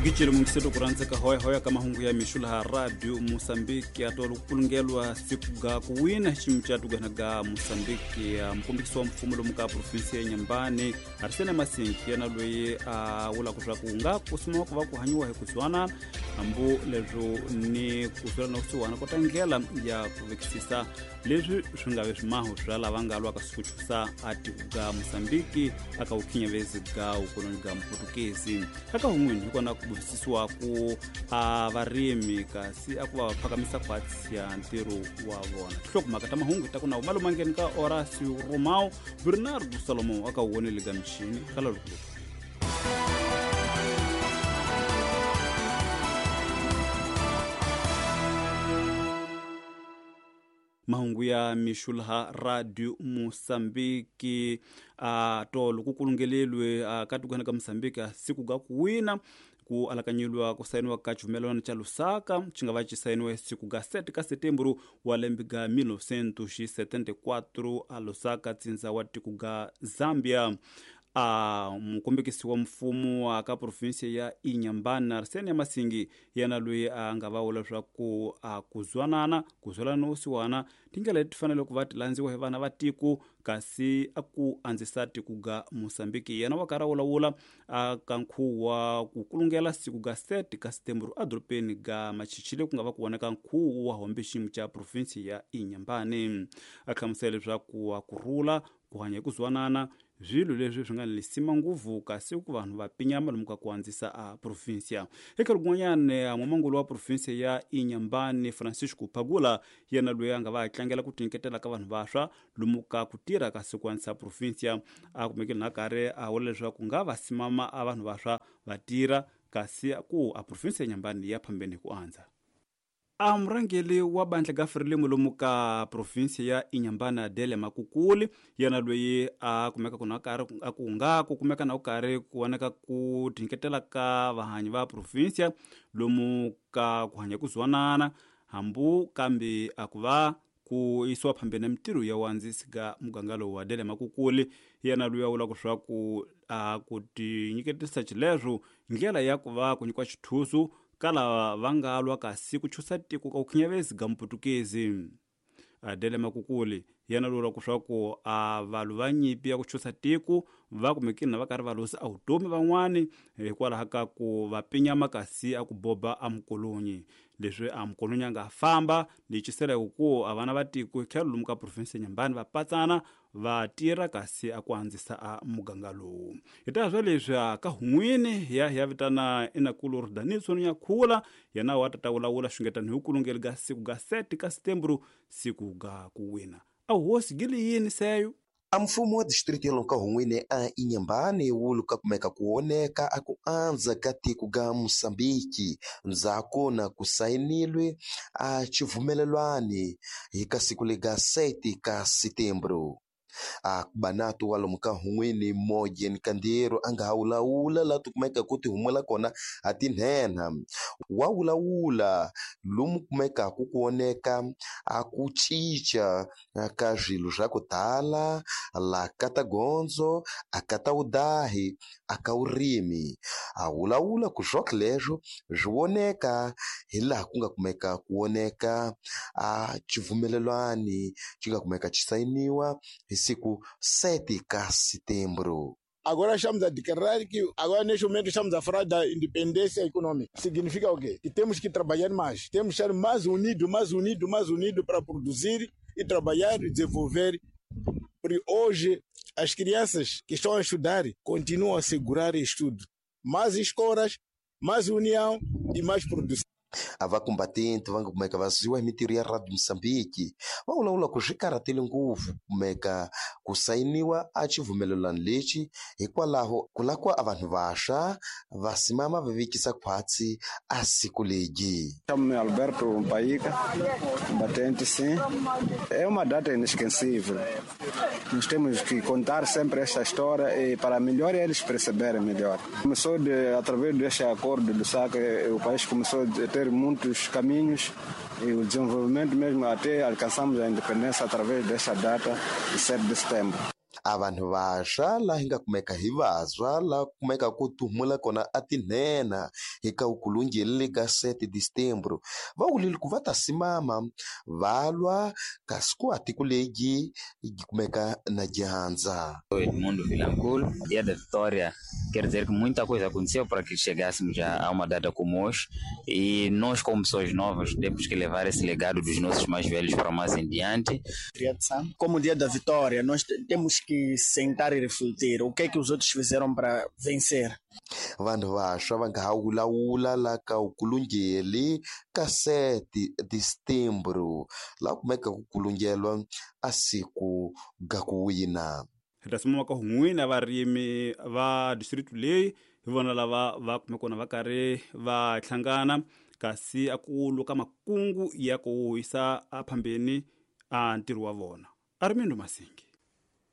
Gicelo mungiseto kuranzeka hoyahoya ka mahungu ya mixo laha Radio Moçambique atolo kukulungelwa siku ga kuwina ximu ca tugana ga Moçambique. Mukombekisi wa mfumo lomu ka provinsia ya Inhambane Arsene Masinki yena loyi a vulaka swa ku nga ku suma ku va ku hanyiwa hi ku zwana hambu leswo ni ku zwela na kusuhana kota ndlela ya ku vekisisa leswi swi nga ve swimaho swa lava nga lwaka siku chusa a tiko ga Moçambique aka vukhinyavezi ga ukoloni ga Muputukezi. Aka hun'wini hi kona ku burisisiwa ku a varimi kasi a ku va va phakamisa khwatsi ya ntirho wa vona. Tinhlokomhaka ta mahungu ta ku na malumangeni ka Horacio Romao Bernardo Salomão aka wonele ga mixini kala lukuluku. Mahungu ya mixo laha Radio Moçambique a tolo ku kulungelelwe ka tikweni ka Moçambique siku ga ku wina ku alakanyeliwa ku sayiniwa ka xivumelwano xa Lusaka xi nga va xi sayiniwe siku ga 7 ka Setembro wa lembe ga 1974 a Lusaka tsindza wa tiko ga Zambia. A mukombekisi wa mfumo wa ka provinsia ya Inhambane Arsene Masingi yena loyi a nga va vula leswaku a ku zwanana ku zwelana usiwana tindlela leti fanele ku va ti landziwa hi vana va tiko kasi a ku andzisa tiko ga Moçambique. Yena wa karhi a vulavula a ka nkhuvo wa ku kulungela siku ga 7 ka Setembro edorobeni ga Machichile ku nga va ku vonaka nkhuvo wa hombe xiyimo xa provinsia ya Inhambane. A hlamusela leswaku a ku rhula ku hanya hi ku zwanana swilo leswi swi nga ni lisima nguvu kasi ku vanhu va pinyama lomu ka ku andzisa a provinsia. Eka rin'wanyana n'wamangulu wa provinsia ya Inhambane Francisco Pagula yena loyi a nga va tlangela ku tinyiketela ka vanhu vantshwa lomu ka ku tirha kasi ku andzisa provinsia a kumekile na karhi a vula leswaku nga va simama a vanhu vantshwa va tirha kasi ku a provinsia ya Inhambane ya phambeni hi ku andza. A murhangeri wa bandla ga Frelimo lomu ka provinsia ya Inhambane Adele Makukuli yena loyi a kumeka ku na karhi a ku nga ku kumeka na ku karhi ku vonaka ku tinyiketela ka vahanyi va provinsia lomu ka ku hanya ku zwanana hambu kambe a ku va ku yisiwa phambeni mintirho ya wandzisi ga muganga lowu. Adele Makukuli yena loyi a vulaka leswaku a ku tinyiketisa xileswo ndlela ya ku va ku nyikiwa xithusu ka lava va nga lwa kasi ku chusa tiko ka vukhinyavezi ga Muputukezi. Adele Makukuli yena loyi vulaka leswaku a valwi va nyimpi ya ku chusa tiko va kumekile na va karhi va lusa a vutomi van'wani hikwalaho ka ku va pinyama kasi a ku boba a mukolonyi. Leswi a mukolonyi a nga famba lecisela hi ku a vana va tiko hi tlhelo lomu ka provinsi ya Inhambane va patsana va tirha kasi a ku andzisa a muganga lowu. Hi ta swa leswi a ka hun'wini ya ya vitana inakulu Rhudanitso Nyakhula yena wa tata vulavula xungetano hi kulungeli ga siku ga 7 ka Setembro siku ga ku wina. A hosi gili yini seyo? A mfumo wa distrito ya lomu ka hun'wini a Inhambane wu luka kumeka ku oneka a ku andza ka tiko ga Moçambique ndzhaku na ku sayinilwe a xivumelelwani hi ka siku lega 7 ka Setembro. A banatu wa lomu ka hun'wini Mojen Kandiro a nga ha wulawula laha ti kumeka ku ti humela kona a tinhenha wa wulawula lomu kumekaku ku oneka a ku cinca ka swilo swa ku tala la ka ta gondzo a ka ta vudahi a ka vurimi a wulawula ku swok leswo swi voneka hi laha ku nga kumeka ku voneka a xivumelelwani xi nga kumeka xi sayiniwa hi siku 7 ka Setembro. Agora estamos a declarar que agora neste momento estamos a falar da independência econômica. Significa o quê? Que temos que trabalhar mais, temos que estar mais unidos, mais unidos, mais unidos para produzir e trabalhar e desenvolver. Porque hoje as crianças que estão a estudar continuam a segurar estudo. Mais escolas, mais união e mais produção. A va combatente va nga kumeka va ziwa hi mintirho ya Radio Moçambique va vulavula ku swi karhatile ngopfu kumeka ku sayiniwa a xivumelelano lexi hikwalaho ku lava ku a vanhu vantshwa va simama va vekisa khwatsi a siku legi. Chamo-me Alberto Mpaíca, combatente, sim. É uma data inesquecível. Nós temos que contar sempre esta história e para melhor eles perceberem melhor. Começou através deste acordo do SAC, o país começou a ter muitos caminhos e o desenvolvimento mesmo até alcançamos a independência através desta data de 7 de setembro. A vanhu vantshwa laha hi nga kumeka hi vantshwa laha kumeka ku tuhumula kona a tinhenha hi ka ukulungeli ka 7 de setembro va vulile ku va ta simama va lwa kasi ku a tiko leyi yi kumeka na dyandza. Edmundo Vilanculo, Dia da Vitória quer dizer que muita coisa aconteceu para que chegássemos a uma data como hoje e nós, como pessoas novas, temos que levar esse legado dos nossos mais velhos para mais em diante. Como o Dia da Vitória, nós temos que sentar e refletir o que é que os outros fizeram para vencer. Vanhu vantshwa va nga ha wulawula la ka ukulungeli ka 7 de setembro laha kumeka ku kulungelwa a siku ga ku wina. Hi ta simama ka n'wina varimi va district leyi hi vona lava va kume kona va karhi va hlangana kasi a ku luka makungu ya ku yisa aphambeni a ntirho wa vona. Armindo Masingi.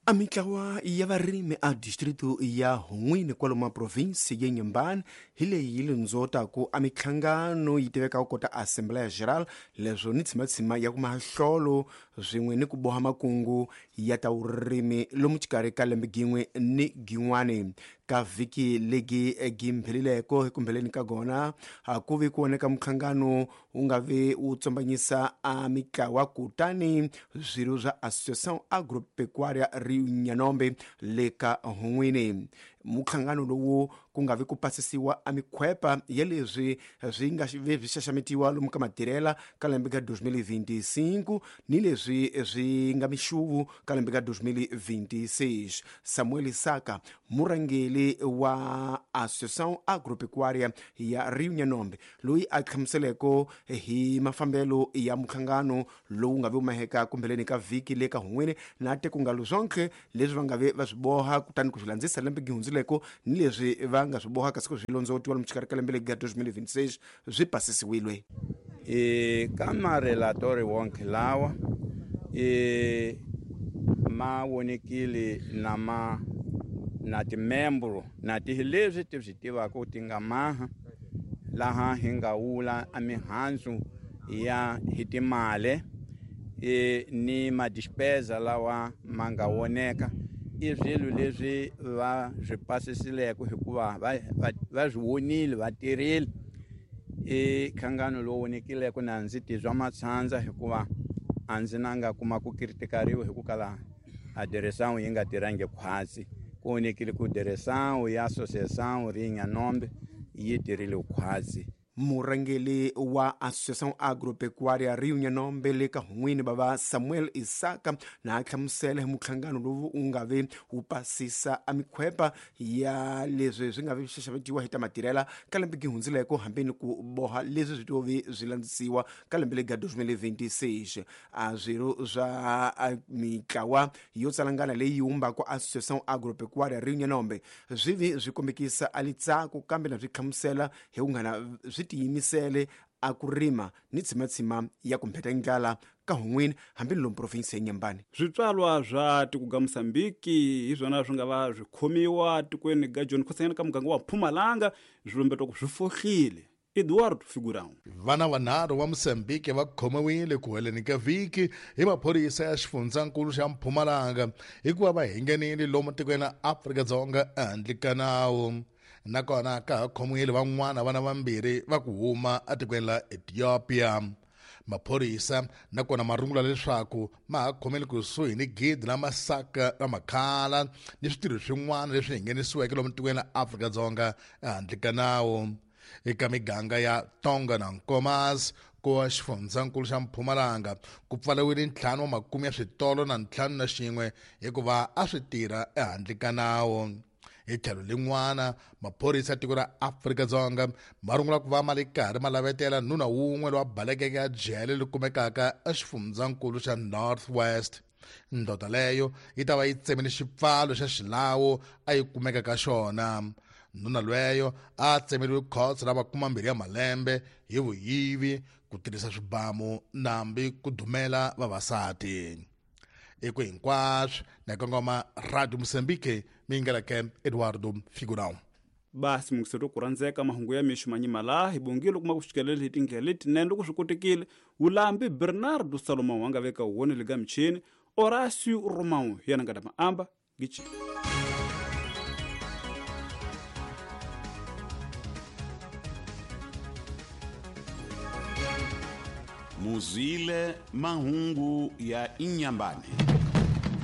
A mitlawa ya varimi a distrito ya Hun'wini kwalomu provinsi ya Inhambane hi leyi yi lundzotaku a mihlangano yi tivekaka kota Assembleia Geral, leswo ni tshimatshima ya ku mahlolo swin'we ni ku boha makungu ya ta vurimi lomu xikarhi ka lembe gin'we ni gin'wani. Ka vhiki legi gimphelileko hi kumbheleni ka gona ku vi ku voneka muhlangano wu nga vi wu tsombanyisa a mitlawa kutani swirho swa Associação Agropecuária Rio Nhanombe le ka Hun'wini. Muhlangano lowu ku nga vi ku pasisiwa a mikhwepa ya leswi swi nga vi swi xaxametiwa lomu ka matirhela ka lembe ka 2025 ni leswi swi nga mixuvu ka lembe ka 2026. Samuel Isaka, murhangeri wa Associação Agropecuária ya Rio Nhanombe, loyi a hlamuseleko hi mafambelo ya muhlangano lowu nga vi wu maheka kumbheleni ka vhiki le ka Hun'wini na te ku nga luzonke leswi va nga vi va swi boha kutani ku swi landzisa lembe gihundzileko ni leswi va nga swi boha kasi ku swi londzotiwa lomu xikarhi ka lembe leri ga 2026 swi pasisiwile. Ka marelatori wonke lawa ma vonekile na ma na timembro na ti leswi ti swi tivaka ti nga maha laha hi nga wula a mihandzu ya hi timali ni madispesa lawa ma nga voneka i swilo leswi va swi pasisileke hikuva va swi vonile va tirhile. I nhlangano lowu vonekileke na ndzi tizwa matshandza hikuva a ndzi na nga kuma ku kritikariwa hi ku kala a direção yi nga tirhangi khwatsi. Ku vonekile ku direção ya Associação Rio Nhanombe yi tirhile khwatsi. Murhangeri wa Associação Agropecuária Rio Nhanombe le ka Hun'wini bava Samuel Isaka na hlamusela hi muhlangano lowu wu nga vi wu pasisa a mikhwepa ya leswi swi nga vi swi xaxametiwa hi ta matirhela ka lembe gihundzileko hambi ni ku boha leswi swi tovi swi landzisiwa ka lembe lega 2026. A swirho swa mitlawa yo tsalangana leyi wumbaka Associação Agropecuária Rio Nhanombe swi vi swi kombekisa a litsako kambe na swi hlamusela hi kunghana swi tiyimisele a ku rima ni tshimatshima ya ku mpheta ndlala ka Hun'wini hambi lomu provinsi ya Inhambane. Switswalwa swa tiko ga Mosambiki hi swona swi nga va swi khomiwa tikweni ga John Khosanyana ka muganga wa Mpumalanga swi lumbetwa ku swi fohlile. Eduardo Figurão. Vana vanharhu va Mosambiki va khomiwile ku heleni ka vhiki hi maphorisa ya xifundzankulu xa Mpumalanga hikuva va hingenile lomu tikweni ra Afrika-Dzonga ehandle ka nawu. Nakona ka ha khomiwile van'wana vana vambirhi va ku huma etikweni la Ethiopia. Maphorisa nakona ma rungula leswaku ma ha khomele kusuhi ni gidi la masaka ra makhala ni switirho swin'wana leswi nghenisiweke lomu tikweni la Afrika-Dzonga ehandle ka nawu. Eka miganga ya Tonga na Nkomas ku xifundzankulu xa Mpumalanga ku pfariwile 5 wa makume ya switolo na 51 hikuva a swi tirha ehandle ka nawu. Hi tlhelo lin'wana maphorisa ya tiko ra Afrika-Dzonga ma rungula ku va ma le karhi ma lavetela nuna wun'we lowa balekeke a jele leri kumekaka exifundzankulu xa North West. Ndoda leyo yi ta va yi tsemile xipfalo xa xilawu a yi kumeka ka xona. Nuna lweyo a tsemeriwe khotso ra 20 ya malembe hi vuyivi, ku tirhisa swibamu nambi ku dumela vavasati. Eku hinkwaswo na kongoma Radio Mozambique mingeleke Eduardo Figurão. Basi mungiseto ku rhandzeka mahungu ya mixo manyima laha hi bongile kuma ku fikelele hi tindlela letinene loko swi kotekile. Wulambi Bernardo Salomão a nga veka wona le ka michini, Horácio Romão yena nga ta maamba. Gichi. Muzwile mahungu ya Inhambane.